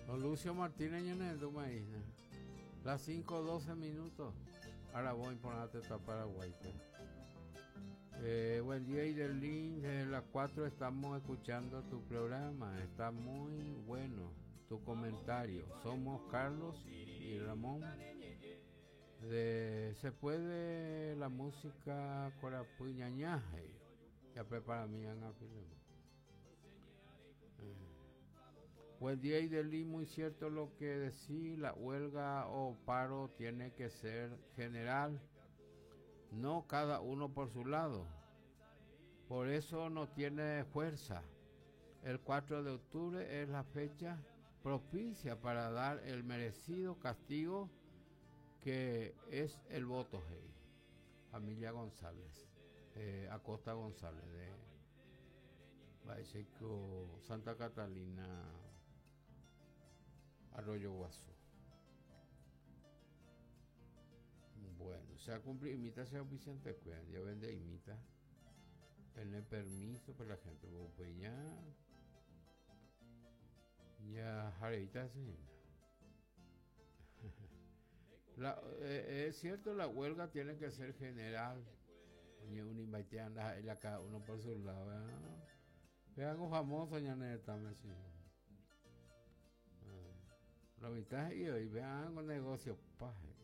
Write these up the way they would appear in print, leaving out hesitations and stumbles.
Don Lucio Martínez ñanehendúma hína. Las 5:12 minutos. Aravo iporã tetã Paraguáipe. Eh, buen día Idelín, desde las 4 estamos escuchando tu programa, está muy bueno tu comentario. Somos Carlos y Ramón. De, se puede la música Corapy ñaña, ya prepara mi Buen día, Idelí, muy cierto lo que decís, la huelga o paro tiene que ser general, no cada uno por su lado. Por eso no tiene fuerza. El 4 de octubre es la fecha propicia para dar el merecido castigo que es el voto. Hey. Familia González, Acosta González de Baiseco, Santa Catalina, Arroyo Guazú. Bueno, se ha cumplido, imita sea oficiante, ya vende imita. Tener permiso para la gente, pues ya, ya, jareita, sí. Es cierto, la huelga tiene que ser general. Oye, un anda cada uno por su lado. Vean algo famoso, ñaneta, me sí. La mitad y hoy vean un negocio paje.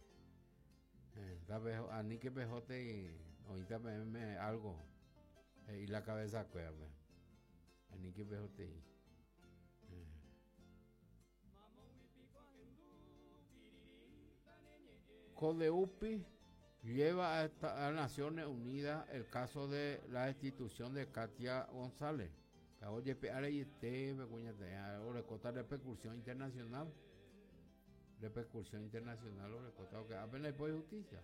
A ni que pejote y ahorita me algo. Y la cabeza cueva. A ni que pejote y. Codehupy lleva a Naciones Unidas el caso de la destitución de Katia González. Oye, orekóta repercusión internacional. Repercusión internacional, orekóta, que apenas hay justicia.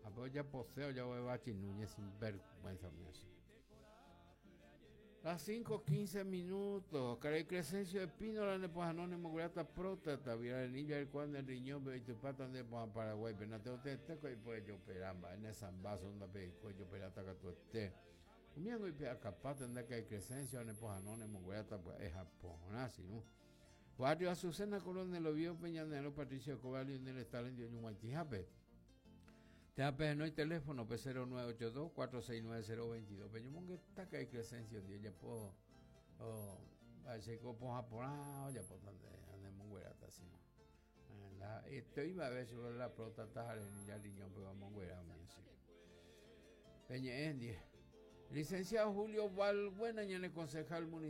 Apenas ya poseo, ya voy a Núñez sin vergüenza mía. Las 5:15 minutos. Caray Crescencio de Pino, la de Anónimo, Grata Próstata, Vira el Niño, el Cuan del Riñón, y tu pata de Paraguay, pero no te te y pues yo peramba, en esa vaso, onda pe yo perata que tú estés. Umiango y pe acapata, anda que hay Crescencio, en Anónimo, Grata, pues es Japón, así, ¿no? Barrio Azucena, Coronel Oviedo, Peñanero, Patricio Escobar, Lionel Stalin, Dios Ñuguantijape. Te no hay teléfono, P 0982 469022. Pero yo me está que hay Crescencio, Dios, ya puedo, oh, a ver como japonés, ya puedo andar monguerata así. Estoy iba a ver sobre la próstata, ya riñón, pero vamos a así. Peña Licenciado Julio Valbuena, ñane concejal municipal.